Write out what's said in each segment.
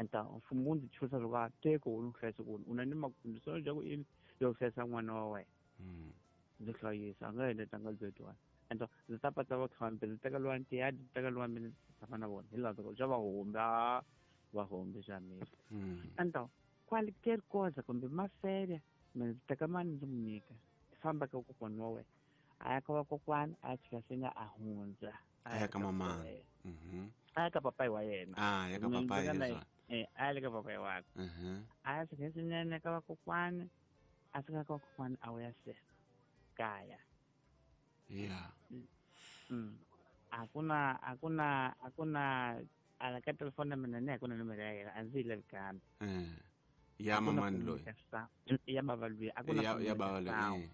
Então mfumo wu ndzi chusa swa ku teko wu ni hlayisa ku u na ni makundiso ya ku ini yo hlayisa n'wana wa wena. Ndzi hlayisa a nga henda nga byetiwani. Então ndzi ta pata va khambe ndzi teka luwa ntiyadi ndzi teka luwa mina ndzi tshama na vona hi laha xa vahombi a vahombi xa mina. Então qualquer coisa kumbe mafere mina ndzi teka mali ndzi n'wi nyika famba ka kokwana wa wena a ya ka vakokwana a ya chika senga a hundza a ya ka mamana a ya ka papayi wa yena a ya ka papayi a ya le ka papayi wakwe a ya chika swinene ka vakokwana a fika ka vakokwana a vuya se kaya. Yeah. Akuna ala ka telefoni ya mina ni hakuna nomero ya yena a ndzi yi lavi kambe. Ya mamani loyi ya bava loyi akuna ya bava loyi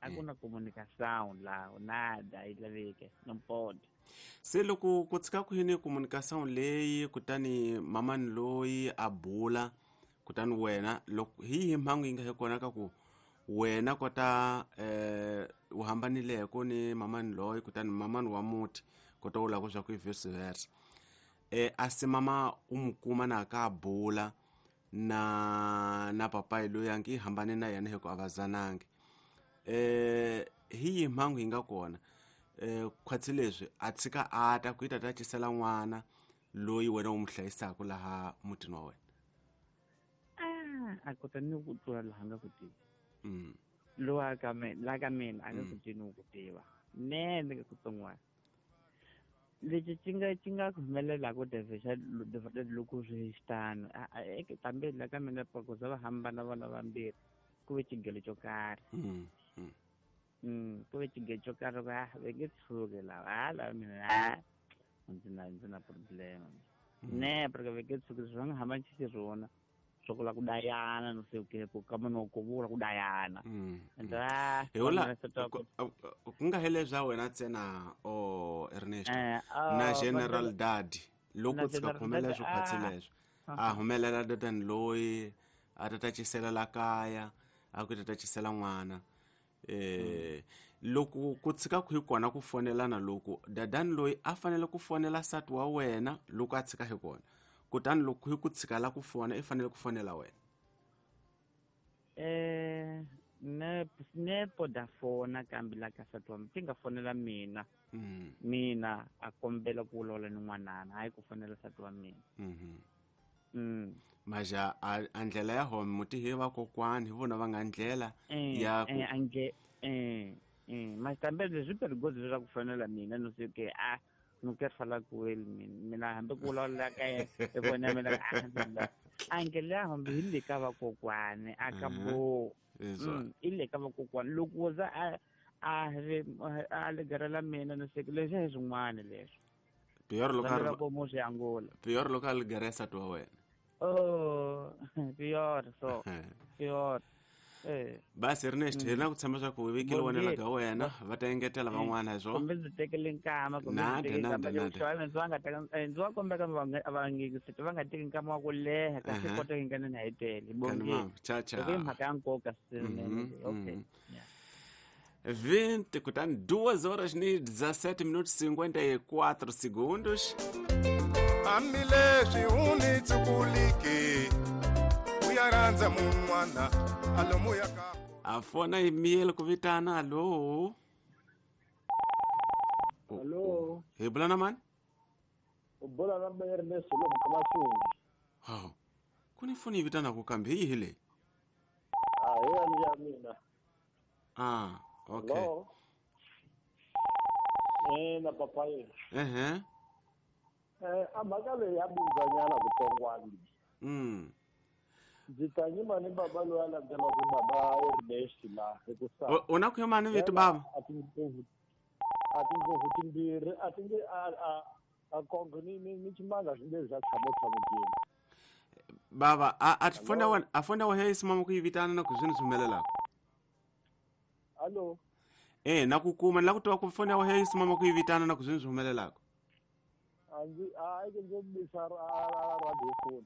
akuna comunicação la nada yi laveke no pode. Se loko ku tshika ku yini comunicação leyi kutani mamani loyi a bula kutani wena loko hi yihi mhangu yi nga hi kona ka ku wena kota u hambanileko ni mamani loyi kutani mamani wa muti kota u lava swa ku i vice versa a se mama u mu kuma na ka bula na papayi loyi a ngi hambane na yena hi ku a va zanangi hi yihi mhangu yi nga kona khwatsi leswi a tshika a ta ku yi ta ta cisela n'wana loyi wena u mu hlayisaka laha mutini wa wena. A kota ni ku tlula laha nga ku tivi lowa ka mina la ka mina a nga ku tivi ni ku tiva nene ka kutsongwana lexi xi nga ku humelelaku devexa loko swi xitano kambe la ka mina ku za va hambana vona vambirhi ku ve xigelo xo karhi ku ve xigelo xo karhi va ve nge tshuki lava hala mina ndzi na problem ne porque ve nge tshuki swi va nga hambani xixirhona swa ku la ku dayana no sei o quê ku kama no ku vula ku dayana hiwula ku nga hele swa wena ntsena o Ernest na General Dadi loko tshika ku humelela swo khwatsi leswo a humelela dadani loyi a ta ta cisela la kaya a ku ta ta cisela n'wana loko ku tshika ku hi kona ku fonelana loko dadani loyi a fanele ku fonela sati wa wena loko a tshika hi kona kutani loko hi ku tshika la ku fona i fanele ku fonela wena. Ne poda fona kambe la ka sati wa ti nga fonela mina mina a kombela ku vulavula ni n'wanana hayi ku fonela sati wa mina. Maja a ndlela ya home muti hi vakokwani hi vona va nga ndlela ya ku ange mas também leswi perigoso leswaku ku fonela mina no sei o que a não quero falar com ele mina hambi ku vulavula ka yena i vona mina ange le hambi hi le ka vakokwani a ka bo i le ka vakokwani loko wo za a a legerela mina no sei leswi hi swin'wana leswi pior loko mo swi angula pior loko a ligere sati wa wena. Oh pior so pior. Basi Ernest hi na ku tshemba swa ku vekile wena ka wena va ta engetela van'wana hi swona kumbe ndzi tekele nkama kumbe ndzi va nga teka ndzi va kombeka va nga teki nkama wa ku leha kasi kota yi nga na hi tele bongi cha cha hi mhaka ya nkoka swinene. Okay 20 kutani 2 horas ni 17 minutos 54 segundos. Hambileswi u ni tsukuliki u ya rhandza mun'wana alomu ya ka a fona yi miyele ku vitana. Alo alo hi bula na mani? U bula na Ernest lomu ka Masungi. Hawu ku ni foni yi vitanaku kambe hi yihi leyi? A hi yani ya mina. Ah, okay. Hello. Na papayi. A mhaka leyi ya bindzanyana kutsongwana. Ndzi ta nyima ni baba loyi a landzelaka baba Ernest la ekusana. U na ku yima ni vito baba? A tindlopfu timbirhi a ti nge a kongo ni ximanga swi nge za tshama tshama jini. Baba a fona wa a fona wa hey simama ku yi vitana na ku swini swi humelelaka. Allo. Na ku kuma la ku twa ku fona wa hey simama ku yi vitana na ku swini swi humelelaka. A ndzi a ke ndzi bisa radio phone.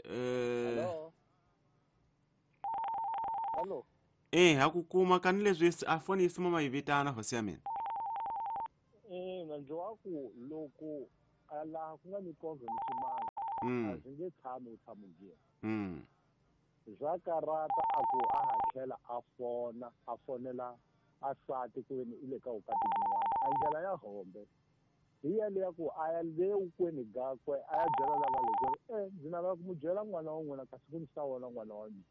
Hello. Allo. Ha ku kuma kani leswi a foni yi simama yi vitana hosi ya mina. Na ndzi wa ku loko laha ku nga ni kongo ni ximanga. A swi nge tshami vutshamo byin'we. Swa karata a ku a ha tlhela a fona a fonela a sati ku veni i le ka vukati byin'wana. A ndlela ya hombe hi yaleya ku a ya le wukweni gakwe a ya byela lava le ku ri ndzi navela ku mu byela n'wana wa n'wina kasi ku ni sa wona n'wana wa mina.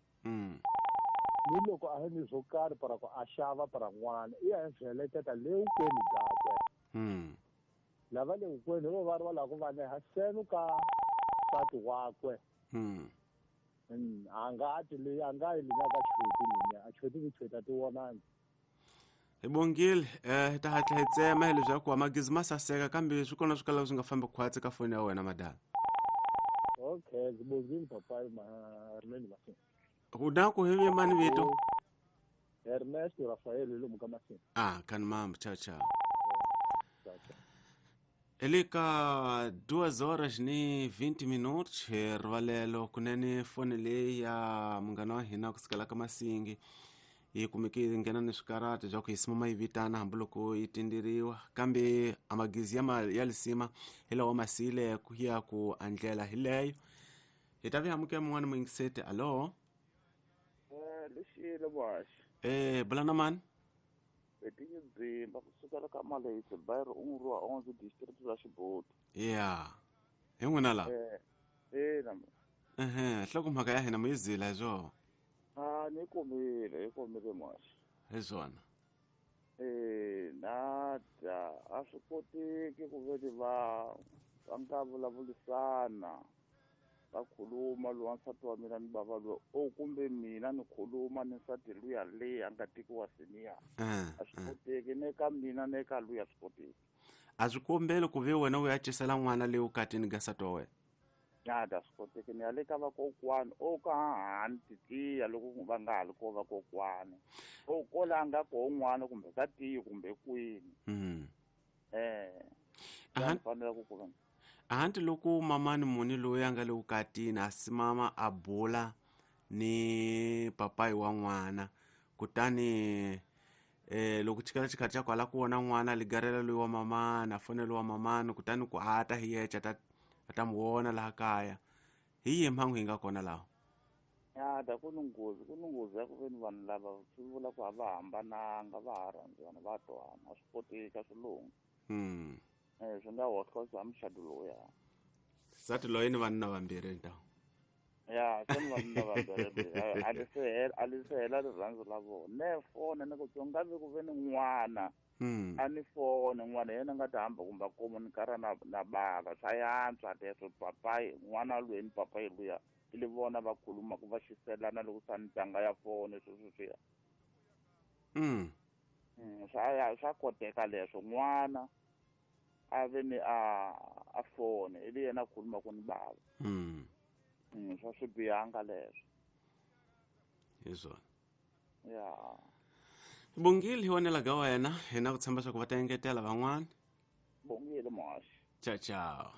Ni loko a ri ni swo karhi para ku a xava para n'wana i ya heleketa le wukweni gakwe. Lava le wukweni hi vo va ri va lava ku va neha seno ka nsati wakwe. A nga ti leyi a nga yi lina ka chweti lina a chweti ku chweti a ti vonangi. Hi bongile hi ta hatla hi tsema hi leswaku magizi ma saseka kambe swi kona swi kalaka swi nga fambi khwatsi ka foni ya wena madala. Okay, ndzi bongile papayi Ernest Masini. U na ku hi mani vito? Ernest Rafael hi lomu ka Masini. Ah, kan mam, ciao ciao. Ele ka 2 horas ni 20 minutos hi rivalelo kunene foni leyi ya munghana wa hina kusukela ka Masingi yi kumeke yi nghena ni swikarati bya ku yi simama yi vitana hambiloko yi tindiriwa kambe amagizi ya lisima hi lawa masile ku ya ku andlela hi leyo hi ta vi amukela mun'wana muyingiseti. Alo lexile boxi bulana mani etinyibimba kusukela ka Malehisi Bayero un'we onzo district ra Xibuti. Ya hi n'wina la ina nhloko mhaka ya hina mu yi zila hi swona. A ni kumile hi kumile moxi hi swona. Na dya a swi koteki ku veni va nga vulavurisana va khuluma lowa nsati wa mina ni bava loyi o kumbe mina ni khuluma ni nsati luya leyi a nga tekiwa senior. A swi koteki ne ka mina ne ka luya swi koteki. A swi kombeli ku ve wena u ya cisela n'wana leyi ukatini ka nsati wa wena. Nada swi koteki ni ya le ka vakokwani o ka hani titiya loko va nga ha li ko vakokwani o kola nga ko n'wana kumbe ka tiyi kumbe kwini. Fanela ku ku ahanti loko mamani muni loyi a nga le vukatini a simama a bula ni papayi wa n'wana kutani loko chikela xikhathi xa kwala ku vona n'wana ligarela loyi wa mamani a fonela wa mamani kutani ku a ta hi yexe a ta mu vona laha kaya hi yihi mhangu yi nga kona laha? Ya ku ni nghozi ku ni nghozi ya ku veni vanhu lava swi vula ku a va hambananga va ha rhandzana va twana a swi koteki a swi lunghi. Swi nga hohlosa muxado lowuya. Nsati loyi ni vanuna vambirhi nta. Ya se ni vanuna vambirhi a li se hela rirhandzu la vona. Ne fone ni ku nga vi ku ve ni n'wana a ni fone n'wana yena nga ta hamba kumbe a komunikara na bava swa yantswa leswo papayi n'wana loyi ni papayi luya i li vona va khuluma ku va xiselana loko swa ntanga ya fone sweswo swiya. Swa koteka leswo n'wana a ve ni a fone i li yena a khuluma ku ni bava. Swa swi bihanga leswo. Hi swona. Ya. Bongile hi wonela ka wena hina ku tshemba swa ku va ta engetela van'wana. Bongile moxi. Ciao ciao.